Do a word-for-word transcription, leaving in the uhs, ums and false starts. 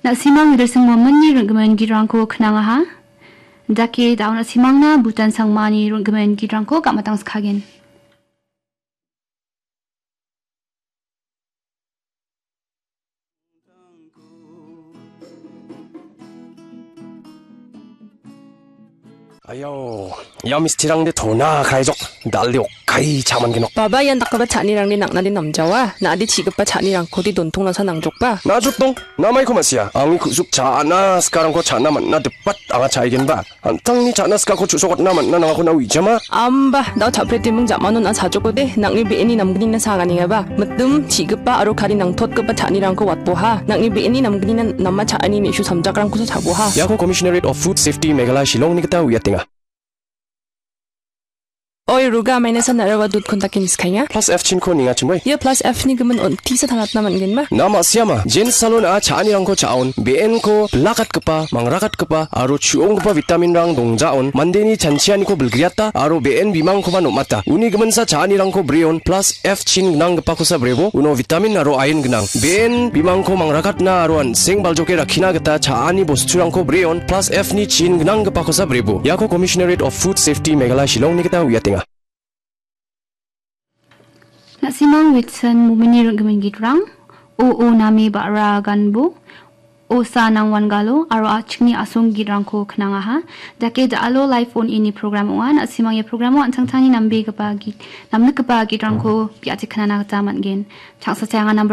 Na·simang Withersing Womenni ring·gimin gitrangko knangaha. Dake da·o na·simangna Bhutan Sangmani ring·gimin gitrangko gam·atangskagen. Ayau, ia mistirangde tona kaijok, dalde okkai chaman genok. Baba, ian dakgipa cha·anirangde nang·nade namjawa, na·ade chi·gipa cha·nirangkode dontongnasa nangjokba. Na·jotdong, namaiko ma·sia, angni ku·suk cha·na sikarangko cha·na man·na dipat anga cha·aigenba. An·tangni cha·na sikako chu·sokatna man·na nangako na uijama? Amba, da·o cha·pretiming ja·mano na·a chajokode, nang·ni be·eni namgnina saganengaba. Mitim, chi·gipa aro kari nangtotgipa cha·anirangko watboha. Nang·ni be·eni namgnina nama cha·ani me·su samjakrangkosa chaboha. Iako Commissionerate of Food Safety Meghalaya Shillongni gita uiatenga. Oi, Ruga, amaina san narawa dut kontakin skainga. Plus F chinko ningachimoi. Ia plus F ni gimin on tisa tanatna man·genma. Na ma·siama, Jane Salon a cha·anirangko cha·on, be·enko bilakatgipa, mangrakatgipa, aro chu·onggipa vitaminrang dongjaon, mandeni chanchianiko bilgriata, aro be·en bimangkoba nom·ata. Uni giminsa cha·anirangko breon, plus F chin gnanggipakosa brebo, uno vitamin aro iron gnang. Be·en bimangko mangrakatna aro an·seng baljoke rakkina gita cha·ani bosturangko breon, plus F ni chin gnanggipakosa brebo. Iako Commissionerate of Food Safety Meghalaya Shillongni gita uiatenga. Na·simang Witson Mumini ring·gimin gitrang, O O Name Ba·ra Ganbo, Osa Nangwan Galo, aro a·chikni asong gitrangko knangaha. Dake da·alo Live On Air-ni program ong·a. Na·simang ia programo an·tangtangni nambegipa git-, namnikgipa gitrangko bi·ate knana gita man·gen. Changsa chayanga number